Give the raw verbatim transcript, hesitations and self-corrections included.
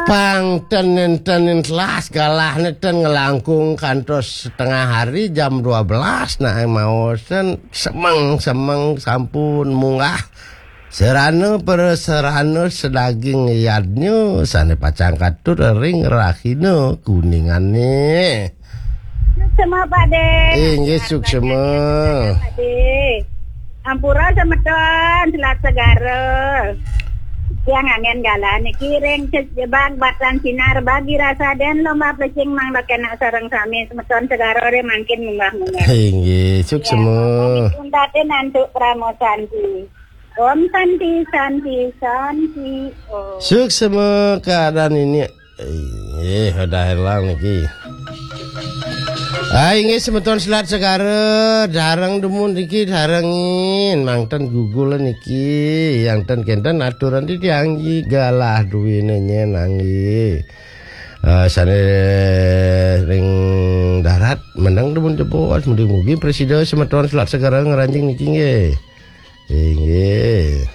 Pang ten nenten telas galahne ten ngelangkung kantos setengah hari jam dua belas, nah maosen semeng-semeng sampun munggah serana pereserana sedaging yadnya sane pacang katut ring rahina kuningane. Suksema, Pak De. Inggih, suksema. Pak De. Ampura semeton, selat segara. Tiang anggen galah niki ring Jebang Batan Sinar bagi rasa den lomba plecing mangda kena sareng sami semeton segara ring mangkin munggah-munggah. Inggih, suksema. Untatin antuk pramosanti. Om Santi, Santi, Santi. Om. Suksema keadaan ini. Eh, udah hilang niki. Ah, inggih semeton selat segara, dareng dumun niki darengin, mangten gugul niki, yang ten kenten aturan di tiang nggih galah duwene nyen nggih. Ah, sane ring darat meneng dumun jebos, mugi-mugi presida semeton selat segara ngranjing niki nggih. Inggih.